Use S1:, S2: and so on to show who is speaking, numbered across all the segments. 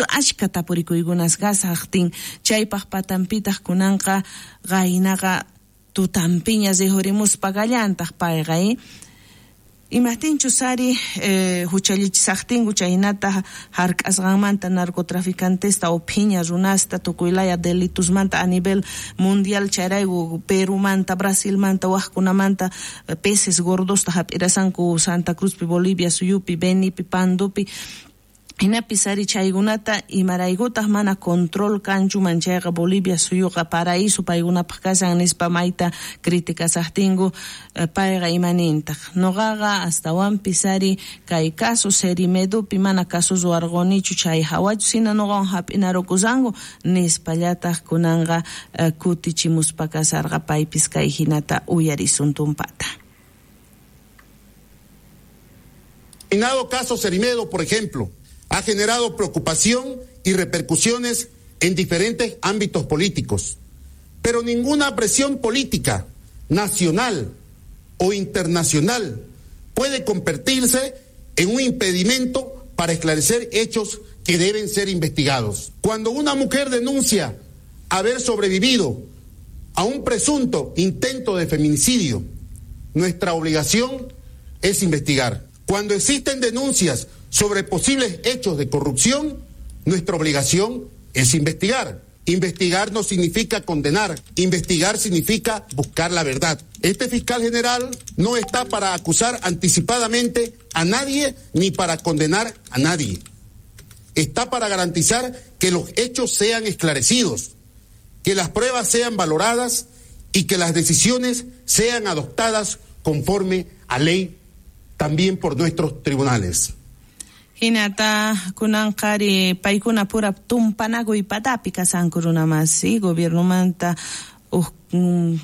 S1: Ashka tapurikuykunas kasaqtin chaypaq patanpitaq kunanqa qaynaqa tutampiña rihurimuspa kallantaq payqa imajtinchus ari huchallichisaqtinku chaynata hark'asqanmanta narcotraficantesta o phiña runasta tukuylaya delitusmanta a nivel mundial chayrayku Perumanta, Brasilmanta, wajkunamanta peces gordosta hap'irasanku Santa Cruzpi, Bolivia suyupi, Benipi, Pandupi. Hinapis ari chaykunata imaraykutaq mana control kanchuman chayqa Bolivia suyuqa paraíso paykunapaq kashan nispa mayta criticasaqtinku payqa imanintaq nuqaqa astawanpis ari kay caso Cerimedopi mana caso ruwarqunichu chay hawachu sina nuqawan hap'inarukusanku nispallataq kunanqa kutichimuspa kasarqa paypis kay hinata uyarisun tumpata.
S2: Caso Cerimedo, por ejemplo, ha generado preocupación y repercusiones en diferentes ámbitos políticos, pero ninguna presión política nacional o internacional puede convertirse en un impedimento para esclarecer hechos que deben ser investigados. Cuando una mujer denuncia haber sobrevivido a un presunto intento de feminicidio, nuestra obligación es investigar. Cuando existen denuncias sobre posibles hechos de corrupción, nuestra obligación es investigar. Investigar no significa condenar, investigar significa buscar la verdad. Este fiscal general no está para acusar anticipadamente a nadie ni para condenar a nadie. Está para garantizar que los hechos sean esclarecidos, que las pruebas sean valoradas y que las decisiones sean adoptadas conforme a ley también por nuestros tribunales.
S1: Hinata kunanqari paykuna pura tumpanakuy patapi kasanku runamasi gobiernomanta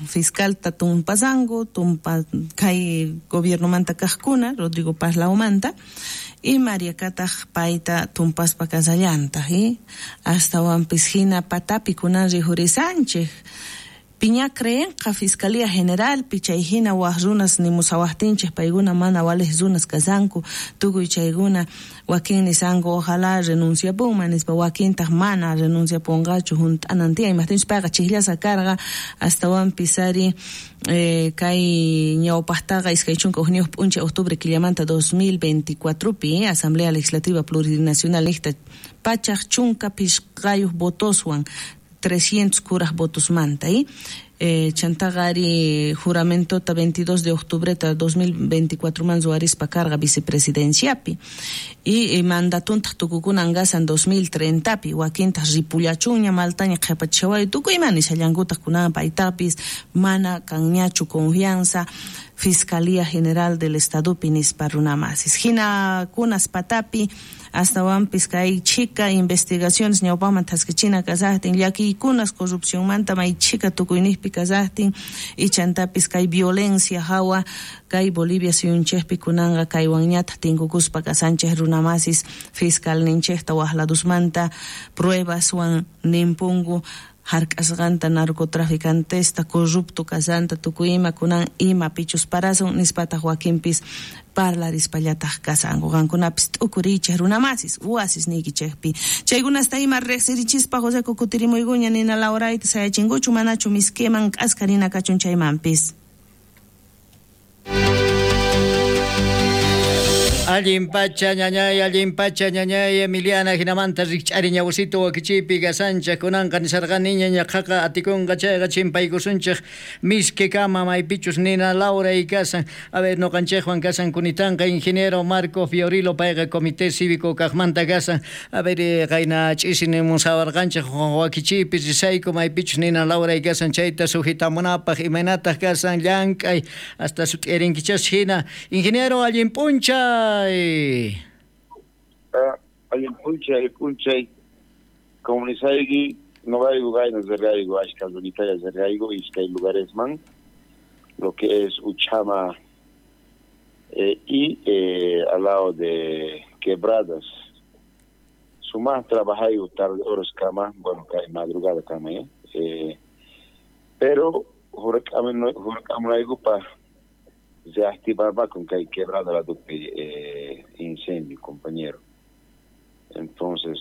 S1: fiscalta tumpasanku tumpa kay gobiernomanta kaqkuna Rodrigo Paz Laumanta y María Kataq payta tumpaspa kasallantaq astawanpis hina patapi kunan rihurisanchik. Piña creenqa Fiscalía General chay hina waj runas nimusawajtinchik paykuna mana walej runas kasanku tukuy chaykuna wakin nisanku ojalá renunciapunman nispa wakintaq mana renunciapunqachu hunt'anan tiyan imajtinchus payqa chikllasa karqa astawanpis ari kay ñawpaqtaqa 21 p'unchay octubre killamanta 2024pi Asamblea Legislativa Plurinacional niqta 115 votoswan 300 kuraj votosmanta chantaqa ari juramentota 22 de octubre 2024 man ruwarispa karqa vicepresidenciapi y mandatuntaq tukukunan kasan 2030pi wakintaq ripullachunña maltaña qhipachaway tukuy ima nishallankutaq kunan paytapis mana kanñachu confianza Fiscalía General del Estadopi nispa runamasis hina kunas patapi astawanpis kay chika investigaciones ñawpaman thaskichina kasaqtin llakiykunas corrupcionmanta may chika tukuyniqpi kasaqtin y chantapis kay violencia hawa kay Bolivia suyunchikpi kunanqa kaywanñataq tinkukuspa kasanchik runamasis fiscalninchikta waqladusmanta pruebaswan nimpunku hark'asqanta narcotraficantesta corrupto kasanta tukuy ima kunan imapichus parasun nispataq wakinpis parlarispallataq kasanku qankunapis t'ukuriychik runamasis wasis niykichikpi chaykunasta ima riqsirichispa José kutirimuykuña nina Laurayta sayachinkuchu manachu miskiman k'aska nina kachun chaymanpis.
S3: Allin pacha ñañay Emiliana hinamanta rikch'ari ñawsito wakichiypi kasanchik kunanqa nisarqaniña ñaqaqa atikunqa chayqa chimpaykusunchik miski kama maypichus nina Laura y kasan. A ver noqanchikwan kasan kunitanqa ingeniero Marco Fiorilo payqa comité cívico kaqmanta kasan. A ver qayna ch'isi nimusawarqanchik wakichiypi risayku maypichus nina Laura y kasan chayta sujitamunapaq imaynataq kasan llank'ay hasta sut'irinkichas hina. Ingeniero allin p'unchay.
S4: Allin p'unchay comunisayki noqayku kayna zerrayku ashka runitalla zerrayku iskay lugaresman lo que es Uchama y al lado de Quebradas sumás trabajayku tarde horas kama bueno madrugada kama pero hurakamunayku pa reactivar con que hay quebrada la incendio, compañero. Entonces,